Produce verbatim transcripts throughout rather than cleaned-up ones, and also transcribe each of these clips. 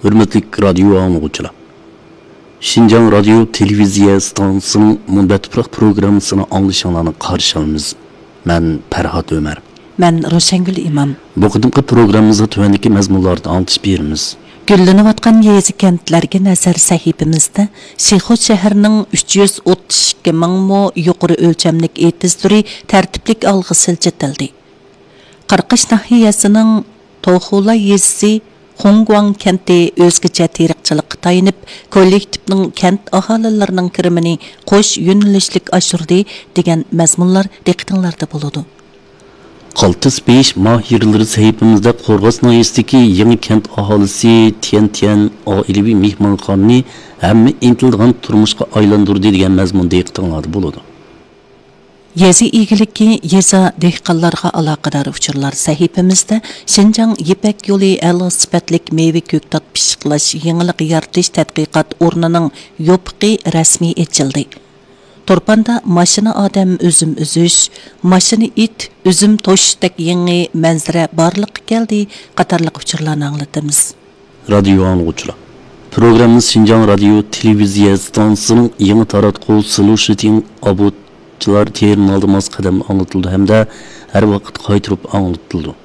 ھۆرمەتلىك رادىيو ئاڭلىغۇچىلار! شىنجاڭ رادىيو تېلېۋىزىيە ئىستانسىسىنىڭ مۇنبەت تۇپراق پروگراممىسىنى ئاڭلىشىڭلارنى قارشى ئالىمىز. مەن پەرھات ئۆمەر. مەن روشەنگۈل ئىمام. بۇ قېتىمقى پروگراممىمىزدا تۆۋەندىكى مەزمۇنلاردا ئاڭلىتىش بېرىمىز. گۈللىنىۋاتقان يېزا-كەنتلەرگە نەزەر سەھىپىمىزدە شىخۇ شەھىرىنىڭ ئۈچ يۈز ئوتتۇز ئىككى مىڭ مو يۇقىرى ئۆلچەملىك ئېتىز تۈرى تەرتىپلىك ئالغا سىلجىتىلدى. قاراقاش ناھىيەسىنىڭ توخۇلا يېزىسى خۇڭگۇاڭ كەنتى ئۆزگىچە تېرىقچىلىققا تايىنىپ، كوللېكتىپنىڭ كەنت ئاھالىلىرىنىڭ كىرىمىنى قوش يۆنىلىشلىك ئاشۇردى، دېگەن مەزمۇنلار دىققىتىڭلاردا بولىدۇ. قالتىس بېيىش ماھىرلىرى سەھىپىمىزدە قورغاس ناھىيەسىدىكى يېڭى كەنت ئاھالىسى تيەن تيەن ئائىلىۋى مېھمانخانىنى ھەممە ئىنتىلىدىغان تۇرمۇشقا ئايلاندۇردى، دېگەن مەزمۇن دىققىتىڭلاردا بولىدۇ. يېزا ئىگىلىكى، يېزا، دېھقانلارغا ئالاقىدار ئۇچۇرلار سەھىپىمىزدە شىنجاڭ يىپەك يولى ئەلا سۈپەتلىك مېۋە كۆكتات پىششىقلاش يېڭىلىق يارىتىش تەتقىقات ئورنىنىڭ يوپۇقى رەسمىي ئېچىلدى. تۇرپاندا ماشىنا ئادەم ئۈزۈم ئۈزۈش، ماشىنا ئىت ئۈزۈم توشۇشتەك يېڭى مەنزىرە بارلىققا كەلدى قاتارلىق ئۇچۇرلارنى ئاڭلىتىمىز. رادىيو ئاڭلىغۇچىلار! پروگراممىمىز شىنجاڭ رادىيو تېلېۋىزىيە ئىستانسىسىنىڭ يېڭى تاراتقۇ سىلۇشىتىڭ ئابوچىلار تېرمىنالدا ماس قەدەمدە ئاڭلىتىلىدۇ ھەمدە ھەر ۋاقىت قايتۇرۇپ ئاڭلىتىلىدۇ.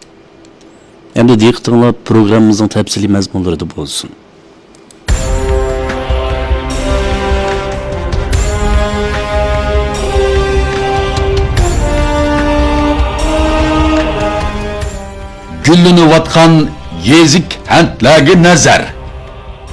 ئەمدى دىققىتىڭلار پروگراممىمىزنىڭ تەپسىلىي مەزمۇنلىرىدا بولسۇن. گۈللىنىۋاتقان يېزا-كەنتلەرگە نەزەر.